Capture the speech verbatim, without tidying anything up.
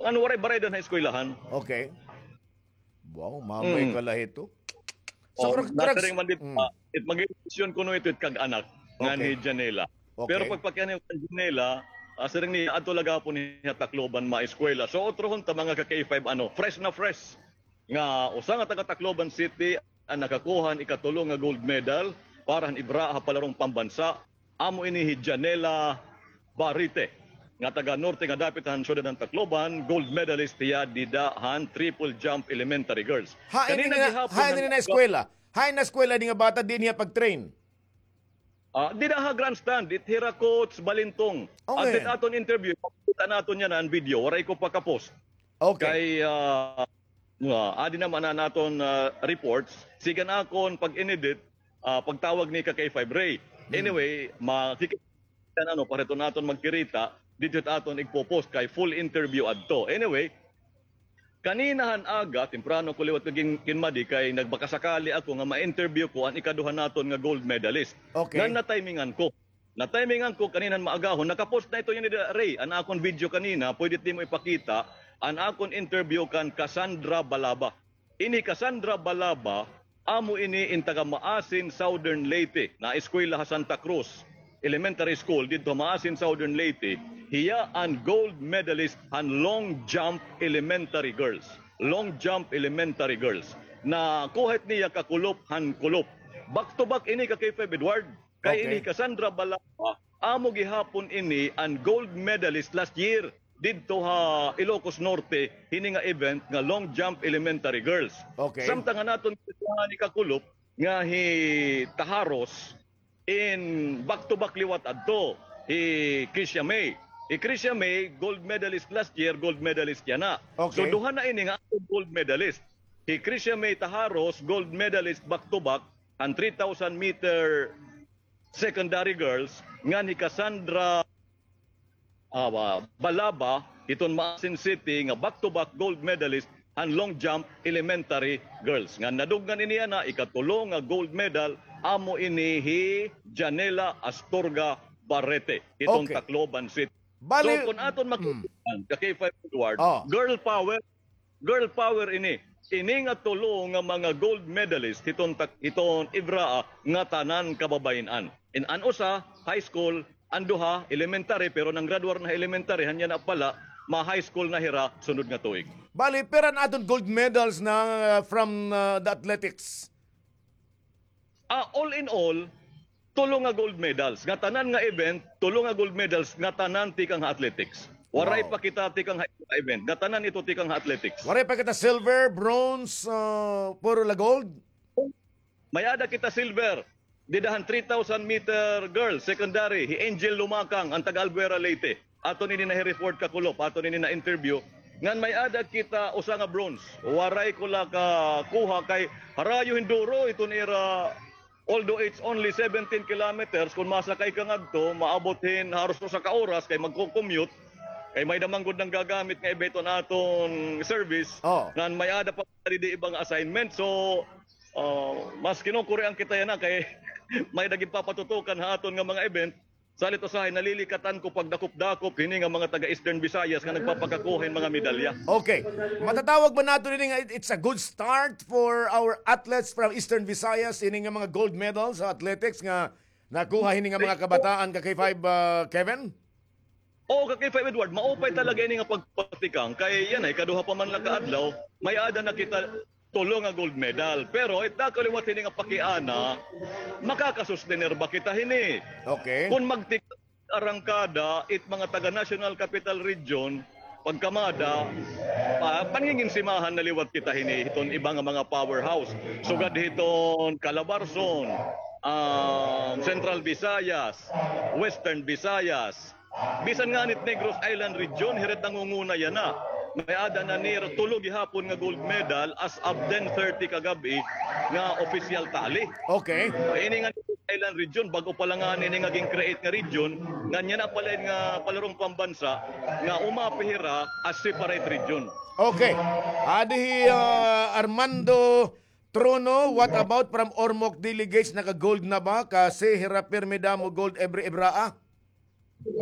ano, waray baraydan ha eskwelahan. Okay. Wow, mamay ka la hito. So, oh, correct, correct. Nasiring man dito, ah, it mag-eleksyon kuno ito it kag-anak ngan hi Janela. Okay. Pero pagpakiana kan Janela, ah, siring niya, adto la gihapon hiya ha Tacloban maeskwela. So, utrohon ta, mga ka-K five, ano, fresh na fresh nga usa nga taga Tacloban City an nakakuha han ikatulo nga gold medal para han Ibraa ha palarong pambansa. Amo ini hi Janela Barite, nga taga norte nga dapit han syudad han Tacloban, gold medalist hiya dida han triple jump elementary girls. Hain ini na eskwela? Hain na eskwela ini nga bata, diin hiya pag-train? Ah, dida ha grandstand, it hira Coach Balintong. Okay. At it aton interview, makita naton yana an video, waray ko pa ka-post. Okay. Kay, ah, nga, adi naman an aton, ah, reports. Sige an akon pag-inedit, ah, pagtawag ni ka K five Ray. Anyway, makikita, ano, para ito naton magkirita, dito it aton igpo-post kay full interview adto. Anyway, kanina han aga, temprano ko liwat kin-, kinmadi kay nagbakasakali ako nga ma-interview ko an ikaduha naton nga gold medalist. Okay. Ngan natimingan ko. Natimingan ko kanina han maagahon, naka-post na ito yana, Ray, an akon video kanina, pwede it nimo ipakita, an akon interview kan Cassandra Balaba. Ini Cassandra Balaba, amo ini in taga Maasin, Southern Leyte, naeskwela ha Santa Cruz Elementary School, didto ha Maasin, Southern Leyte. Hiya an gold medalist han long jump elementary girls. Long jump elementary girls. Nakuha it niya kakulop han kulop. Back to back ini ka K five Edward. Kay ini hi Cassandra Balaba, amo gihapon ini an gold medalist last year didto ha Ilocos Norte, hini nga event nga long jump elementary girls. Okay. Samtang an aton ni kakulop nga hi Taharos, in back to back liwat adto, hi Krisha May. Hi Krisha May, gold medalist last year, gold medalist yana. Okay. So, duha na ini nga aton gold medalist. Hi Krisha May Taharos, gold medalist back to back, an three thousand meter secondary girls, ngan hi Cassandra, ah, Balaba, hiton Maasin City, nga back-to-back gold medalist han long jump elementary girls. Ngan nadugnan ini yana, ikatulo nga gold medal, amo ini hi Janela Astorga Barrete, hiton Tacloban City. Bali, so, kon aton makita, ka K five Edward, girl power, girl power ini. Ini nga tulo nga mga gold medalist hiton tak-, hiton Ibraa nga tanan kababayen-an. In an usa, high school, an duha, elementary, pero nanggraduar na ha elementary, han yana pala, ma-high school na hira sunod nga tuig. Bali, pira an aton gold medals na, uh, from, uh, the athletics? Ah, all in all, tulo nga gold medals. Nga tanan nga event, tulo nga gold medals, nga tanan tikang ha athletics. Waray pa kita tikang ha event. Nga tanan ito tikang ha athletics. Waray pa kita silver, bronze, ah, puro la gold? May-ada kita silver. Dida han three thousand meter girls, secondary, hi Angel Lumakang, an taga Albuera, Leyte. Aton ini na-report kakulop, aton ini na-interview. Ngan may-ada kita usa nga bronze. Waray ko la kakuha kay harayo hin duro iton ira, although it's only seventeen kilometers, kon masakay ka ngadto, maabot hin haros usa ka oras kay magko-commute, kay may-ada man gud nanggagamit nga iba iton aton service. Oh. Ngan may-ada pa didi iba nga assignment. So, ah, mas kinukurian kita yana kay may-ada ginpapatutukan ha aton nga mga event. Salit usahay, nalilikatan ko pagdakop-dakop hini nga mga taga Eastern Visayas nga nagpapakakuha hin mga medalya. Okay. Matatawag ba naton ini nga it-, it's a good start for our athletes from Eastern Visayas, ini nga mga gold medals sa athletics nga nakuha hini nga mga kabataan ka K five, ah, Kevin? Oo, ka K five Edward, maupay talaga ini nga pagpatikang. Kay yana, ikaduha pa man la ka adlaw, may-ada na kita tulo nga gold medal. Pero it dako liwat hini nga pakiana, makakasustener ba kita hini? Okay. Kon magtik-, arangkada, it mga taga National Capital Region, pagkamada, ah, panginginsimahan na liwat kita hini hiton iba nga mga powerhouse. Sugad hiton Calabarzon, ah, Central Visayas, Western Visayas, bisan ngani it Negros Island Region, hira it nangunguna yana. May-ada na nira tulo gihapon nga gold medal as of ten thirty kagab-i nga official tally. Okay. Ini nga Negros Island Region, bag-o pa la ngani ini nga gin-create nga region, ngan yana pala ini nga palarong pambansa nga umapi hira as separate region. Okay. Adi hi, ah, Armando Trono, what about from Ormoc delegates, naka-gold na ba? Kasi hira pirmi damo gold every Ibraa.